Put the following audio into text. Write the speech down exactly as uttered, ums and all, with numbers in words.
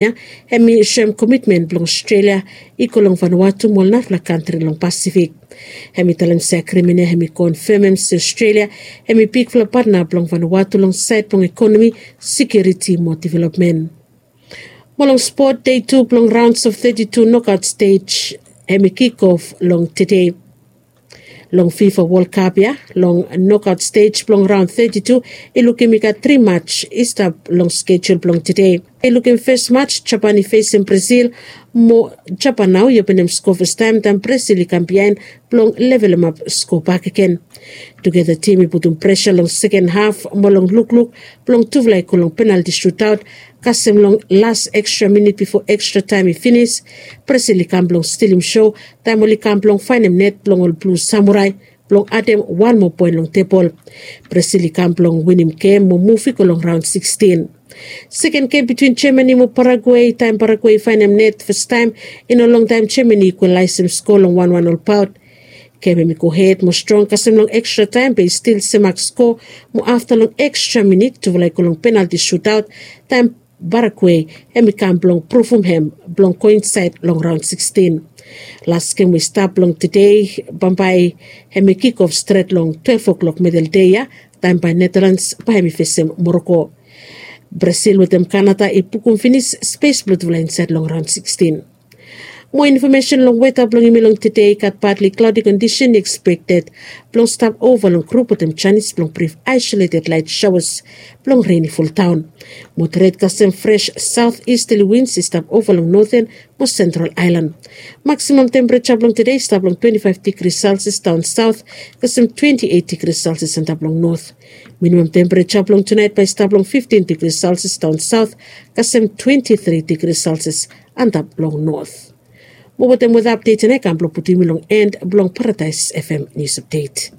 Hem i soem komitmen blong Australia i go long Vanuatu mo ol narafala kantri long Pasifik. Hem i talem se agrimen ya hem i konfemem se Australia hem i bigfala patna blong Vanuatu long saed blong ekonomi, sekiuriti mo developmen. Mo long spot, dei tu blong raons of thirty-two nokaot stej hem i kikof long tede. Long fifa wol kap ya, long nokaot stej blong raon thirty-two i lukim i gat tri mats i stap long skejul blong tede. I lukim fes mats Japan i fesem Brasil, mo Japan nao i openem sko fastaem taem Brasil i kam biaen blong levelemap sko bakegen. Tugeta tim i putum presa long seken haf mo long lukluk blong tufala i go long penalti sutaot, kasem long las ekstra minit bifo ekstra taem i finis, Brasil i kam blong stilim so taem oli kam blong faenem net blong ol blu samurai blong adem wan moa poen long tebol. Brasil i kam blong winim gem mo muv i go long raon sikstin. Seken gem bitwin Jamani mo Paraguei taem Paraguei i faenem net fastaem i no longtaem Jamani i ikwalaesem sko long wanwan olbaot. Gem hem i gohed mo strong kasem long ekstra taem be i stil semak sko, mo afta long ekstra minit tufala i go long penalti sutaot taem Paraguei hem i kam blong pruvum hem blong go insaed long raon sikstin. Las gem we i stap long tede bambae hem i kikof stret long twelef o'klok medeldei ya, taem bae Netalans bae hem i fesem Moroko. Brasil wetem Kanada i bukum finis spes blong tufala insaed long raon sikstin. Moa infomesen long weta blong yumi long tede i gat badli klaodi kondisen i ekspekted blong stap ova long grup wetem janis blong brif aisoleted laet saoas blong ren i fuldaon. Moderet kasem fres saot istali wins i stap ova long noten mo sentral aelan. Maksimam tempereja blong tede i stap long twenti faef digri selsias daon saot kasem twenti eit digri selsias antap long not. Minimam tempereja blong tunaet bae i stap long fiftin digri selsias daon saot kasem twenti tri digri selsias antap long not. Mo wetem weta apdet ya nao i kam blong putum yumi long en blong Paradaes FM nius apdet.